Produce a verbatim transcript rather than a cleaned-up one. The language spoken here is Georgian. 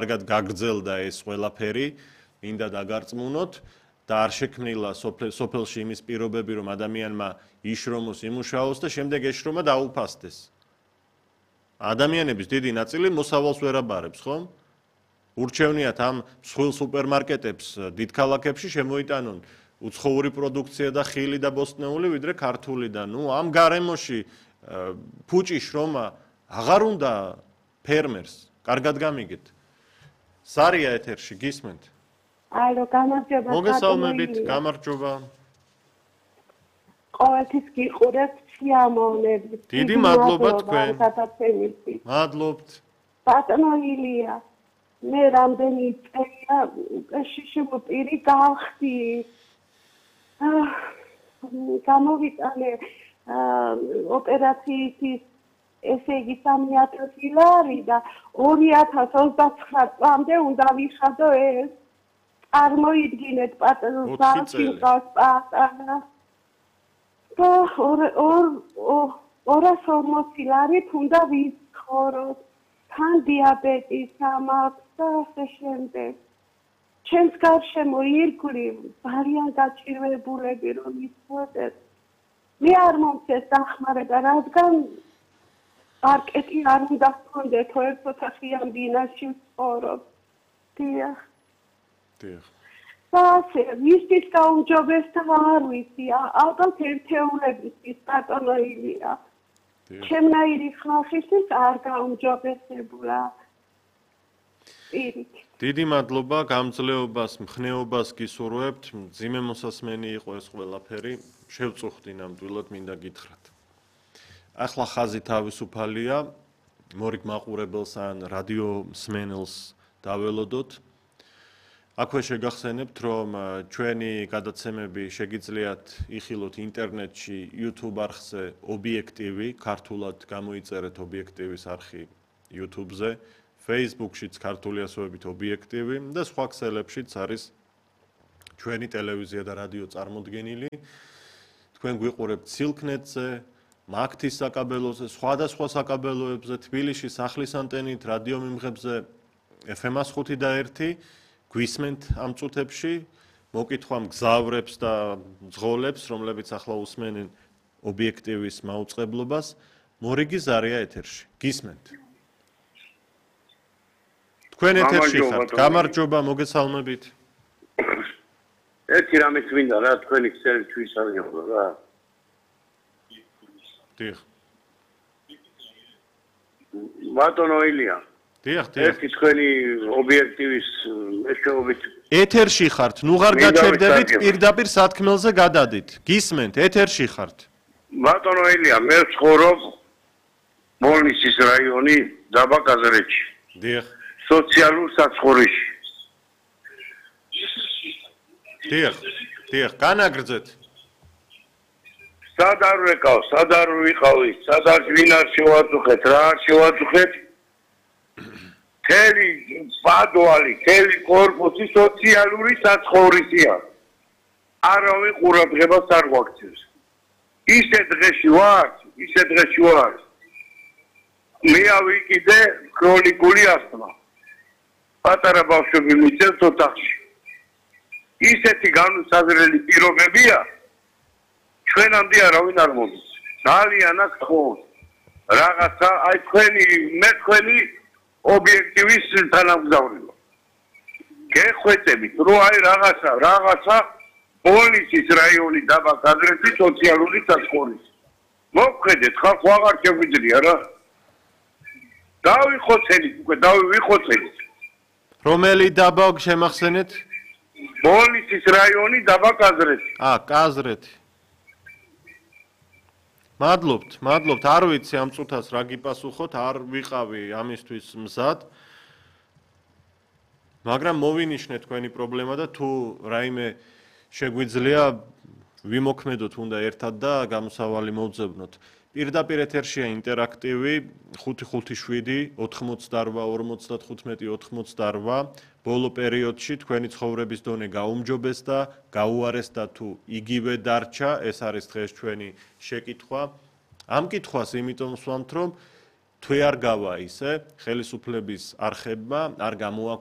კარგად გაგრძელდა ეს ყველაფერი, მინდა დაგარწმუნოთ და არ შექმნილა სოფელში იმის პირობები, რომ ადამიანმა იშრომოს, იმუშაოს და შემდეგ ეს შრომა დაუფასდეს. ადამიანების დიდი ნაწილი მოსავალს ვერ აბარებს, ხომ? ურჩევნიათ ამ მსხვილ სუპერმარკეტებს დიდ ქალაქებში შემოიტანონ უცხოური პროდუქცია და ხილი და ბოსტნეული, ვიდრე ქართული და ნუ ამ გარემოში ფუჭი შრომა აღარ უნდა ფერმერს. კარგად გამიგეთ. სარია ეთერში გისმენთ? ალო, გამარჯობა. მოგესალმებით, გამარჯობა. ყოველთვის გიყურებთ სიამოვნებით. დიდი მადლობა თქვენ. მადლობთ. ბატონო ილია, მე რამდენი წელია შიშიმოპირი გავხდი. გამოვიტანე ოპერაციისთვის ესე იგი სამი ათასი ლარი და ორი ათას ოცდაცხრა წლამდე უნდა ვიხადო ეს. წარმოიდგინეთ პატარა ზალში მყავს პატარა. და ორას ორმოცი ლარით უნდა ვიცხოვროთ. თან დიაბეტი სამაქვს და ასე შემდეგ. ჩემს გარშემო ირგვლივ ძალიან გაჭირვებულები რომ იცოდეთ. მე არ მომწეს დახმარება, რადგან მარკეტი არ უნდა გქონდეთ, ერთ ოთახიან ბინაში ვცხოვრობ. დიახ. დიახ. ასე, ვისთვის გაუმჯობესდა არ ვიცი, ალბათ ერთეულებისთვის ბატონო ილია. ჩემნაირი ხალხისთვის არ გაუმჯობესებულა. პირით. დიდი მადლობა, გამძლეობას, მხნეობას გისურვებთ. მძიმე მოსასმენი იყო ეს ყველაფერი. შევწუხდი ნამდვილად, მინდა გითხრათ. ახლა ხაზი თავისუფალია, მორიგ მაყურებელს ან რადიო მსმენელს დაველოდოთ. აქვე შეგახსენებთ, რომ ჩვენი გადაცემები შეგიძლიათ იხილოთ ინტერნეტში, YouTube არხზე ობიექტივი, ქართულად გამოიწერეთ ობიექტივის არხი YouTube-ზე, Facebook-შიც ქართული ასოებით ობიექტივი და სხვა ქსელებშიც არის ჩვენი ტელევიზია და რადიო წარმოდგენილი. თქვენ გვიყურებთ სილკნეტზე, მაგთის საკაბელოზე, სხვადასხვა საკაბელოებზე, თბილისში სახლის ანტენით, რადიო მიმღებზე ეფ ემ ხუთი და ერთი გვისმენთ ამ წუთებში, მოკითხვა მგზავრებს და მძღოლებს, რომლებიც ახლა უსმენენ ობიექტივის მაუწყებლობას, მორიგი ზარია ეთერში. გისმენთ. თქვენ ეთერში ხართ. გამარჯობა, მოგესალმებით. ერთი რამე გვინდა რა, თქვენი ქსელი ჩვისარგებლო რა. დიახ. ბატონო ილია. დიახ, დიახ. ერთი თქვენი ობიექტივის მეშვეობით ეთერში ხართ, ნუ ღარ გაჩერდებით, პირდაპირ სათქმელზე გადადით. გისმენთ, ეთერში ხართ. ბატონო ილია, მე ვცხოვრობ მოლნისის რაიონი, დაბა კაზრეთში. დიახ. სოციალურ საცხოვრისში. დიახ, დიახ, განაგრძეთ. სად არ ვეკავ, სად არ ვიყავი, სად არ ვინ არ შევაწუხეთ, რა არ შევაწუხეთ? თელი ბადვალი, თელი კორპუსი სოციალური საცხოვრისია. არავინ ყურადღებას არ გვაქცევს. ისე დღეში ვარ, ისე დღეში ვარ. მე ავიკიდე ქრონიკული ასთმა. პატარა ბავშვები მიწევთ ოთახში. ისეთი განუსაზღვრელი პირობებია, ჩვენამდე არავინ არ მოდის. ძალიან აქ თხოვს. რაღაცა, აი თქვენი, მე თქვენი ობიექტივის თანამგზავრია. გეხვეწებით, რომ აი რაღაცა, რაღაცა პოლიციის რაიონი დაბა კაზრეთის სოციალური საცხოვრისი. მოგხედეთ, ხალხო აღარ შეგვიძლია რა. დავიხოცენით, უკვე დავიხოცენით. რომელი დაბა შემახსენეთ? პოლიციის რაიონი დაბა კაზრეთი. აა, კაზრეთი. მადლობთ, მადლობთ, არ ვიცი ამ წუთას რა გიპასუხოთ, არ ვიყავი ამისთვის მზად. მაგრამ მოვინიშნე თქვენი პრობლემა და თუ რაიმე შეგვიძლია ვიმოქმედოთ უნდა ერთად და გამოსავალი მოვძებნოთ. პირდაპირ ეთერშია ინტერაქტივი ხუთი ხუთი შვიდი ოთხმოცდარვა ორმოცდათხუთმეტი ოთხმოცდარვა ბოლო პერიოდში თქვენი ცხოვრების დონე გაუმჯობესდა, გაუარესდა თუ იგივე დარჩა, ეს არის დღეს ჩვენი შეკითხვა. ამ კითხვას იმიტომ ვსვამთ, რომ თუ არ გავა ისე, ხელისუფლების არხებმა არ გამოაქვთ